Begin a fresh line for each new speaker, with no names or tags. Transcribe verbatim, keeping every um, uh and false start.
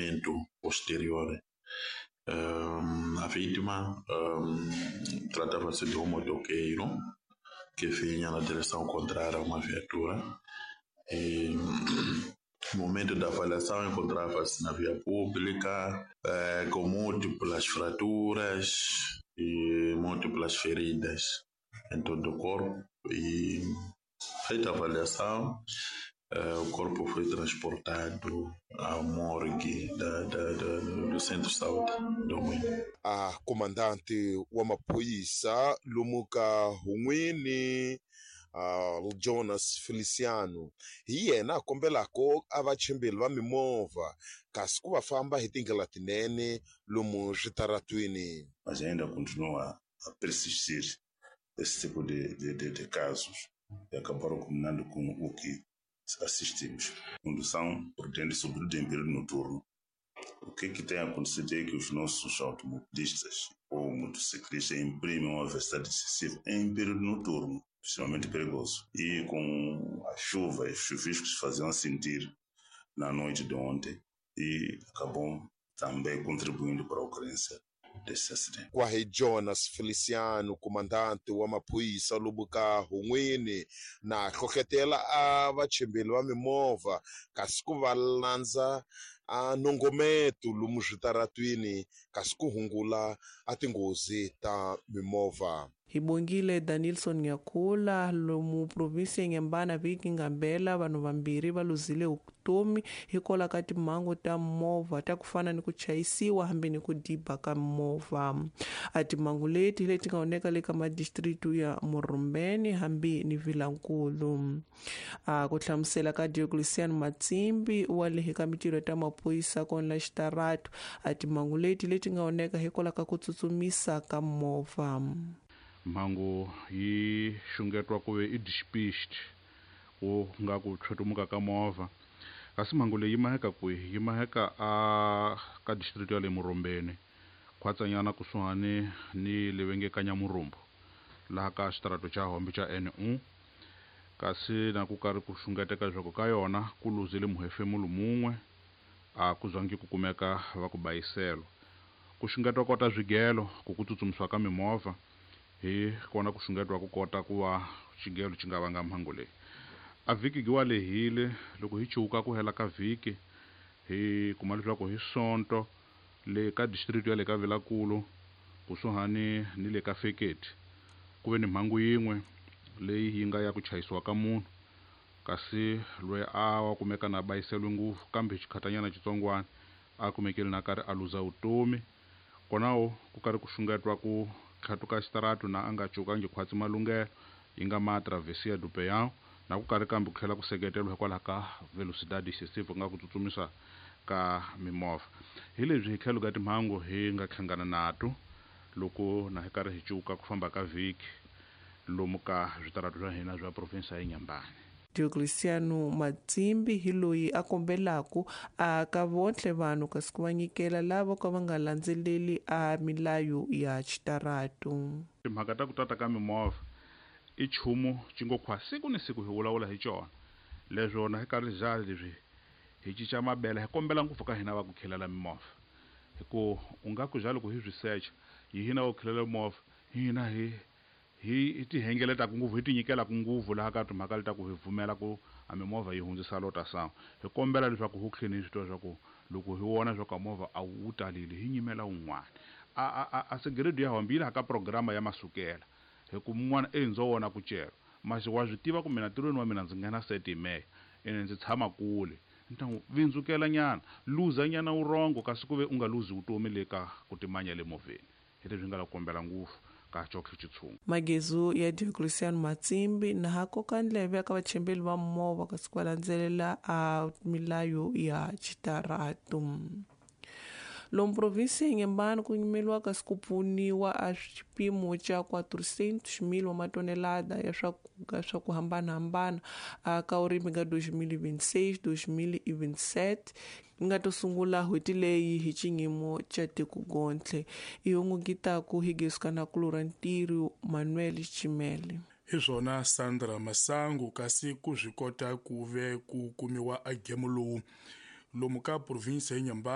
acompanhamento posterior. Um, a vítima um, tratava-se de um motoqueiro que vinha na direção contrária a uma viatura. E, no momento da avaliação, encontrava-se na via pública, eh, com múltiplas fraturas e múltiplas feridas em todo o corpo. E, feita a avaliação, eh, o corpo foi transportado à morgue da, da, da, do Centro de Saúde do Moinho.
A comandante wa maphorisa lomu ka Hun'wini uh, Jonas Feliciano hi yena a kombelako a vachimbeli va mimovha kasi ku va famba hi tindlela tinene lomu switaratwini.
Mas ainda continua a persistir esse tipo de, de, de, de casos e acabaram culminando com o que assistimos. Condução prudente, sobretudo em período noturno. O que, que tem acontecido é que os nossos automobilistas ou motociclistas imprimem uma velocidade excessiva em período noturno, extremamente perigoso. E com a chuva e os chuviscos faziam sentir na noite de ontem e acabou também contribuindo para a ocorrência desse acidente.
Kwahi Jonas Feliciano, comandante wa maphorisa lomu ka Hun'wini, na hlohlotela a vachimbeli va mimovha kasi ku va landza a nongometo lomu switaratwini kasi ku hungula a tinghozi ta mimovha.
Hi bongile Danilson Nyakula lomu provinsi ya Inhambane vhiki ngambela vanhu vambirhi va luzile vutomi hikwalaho ka timhangu ta movha ta ku fana ni ku chayisiwa hambi ni ku diba ka movha. A timhangu leti leti nga oneka le ka madistritu ya Murumbeni hambi ni Vilankulu. A ku hlamusela ka Diocleciano Matsimbi wa le ka mitirho ta maphorisa kona la xitaratu, a timhangu leti leti nga oneka hikwalaho ka ku tsutsumisa ka movha.
Mhangu yi xungetiwa ku ve i dispatched ku nga ku tlhotumuka ka movha, kasi mhangu leyi yi maheka kwihi? Yi maheka a ka district ya le Murumbeni, khwatsanyana kusuhani ni le va nge ka Nyamurumbu, laha ka xitarato xa Hombe xa N U. Kasi na ku karhi ku xungeteka leswaku ka yona ku luzile muhefemulo mun'we, a ku zangi ku kumeka va ku bayiselo. Ku xungetiwa kota swigelo ku ku tsutsumisiwa ka mimovha hi kona ku xungetiwa ku kota ku va xigelo xi nga vanga mhangu leyi. A vhiki giwa lehile loko hi chuka ku hela ka vhiki hi kuma leswaku hi Sonto le ka district ya le ka Vilankulu kusuhani ni le ka Feketi ku ve ni mhangu yin'we leyi yi nga ya ku chayisiwa ka munhu, kasi loyi a wa kumeka na bayiseliwe ngopfu kambe xikhatanyana xitsongwana a kumekile na karhi a luza vutomi. Konawo ku karhi ku xungetiwa ku tlhatuka xitaratu na a nga cukangi khwatsi malunghelo yi nga ma travesia do Peão, na ku karhi kambe ku tlhela ku seketeriwa hikwalaho ka velocidade excessive ku nga ku tsutsumisa ka mimovha. Hi leswi hi tlhelo ka timhangu hi nga hlangana nato loko na hi karhi hi cuka ku famba ka vhiki lomu ka switaratu swa hina swa provinsi ya Inhambane.
Diocleciano Matsimbi hi loyi a kombelaku a ka vontlhe vanhu kasi ku va nyikela lava ka va nga landzeleli a milayo ya xitaratu.
Timhaka ta ku tata ka mimovha i nchumu xi ngo khwa siku ni siku hi vulavula hi xona, leswo na hi karhi za leswi hi cinca mabele hi kombela ngopfu ka hina va ku khelela mimovha, hi ku u nga ku za loko hi swi secha hi hina va ku khelela mimovha hina hi hi ti hengeletaka ngopfu hi ti nyikelaka ngopfu laha ka timhaka leti ta ku hi pfumela ku a mimovha yi hundzisa lota sangu. Hi kombela leswaku hu tlheni hi swi tiva leswaku loko hi vona leswaku a movha a wu talile hi nyimela wun'wana. A a a a segredo ya hambi yi laha ka programa ya masukela, hi ku mun'wana e ndzo vona ku cela masi wa swi tiva ku mina ntirhweni wa mina ndzi nghena seti meya ene ndzi tshama kule, ni ta n'wi vindzukela nyana luza nyana wurongo kasi ku ve u nga luzi vutomi le ka ku timanya le movheni. Hi leswi nga la kombela ngopfu ka Chokwe Chitsungu.
Magezu ya Diocleciano Matsimbi na ha koka ndleve ka vachembeli va movha kasi ku va landzelela a milayo ya xitaratu. Lomu provinsi ya Inhambane ku nyimeliwa kasi ku pfuniwa a xipimo xa quatrocentos mil wa matonelada ya swakudya swa ku hambanahambana a ka urimi ka dois mil e vinte e seis, dois mil e vinte e sete yi nga to sungula n'hweti leyi hi xiyimo xa tikogontle. I hungukitaku hi gesuka na kulura ntirho Manuel Chimele.
Hi swona Sandra Masangu kasi ku swi kota ku ve ku kumiwa a gemo lowu lomu ka provinsi ya Inhambane.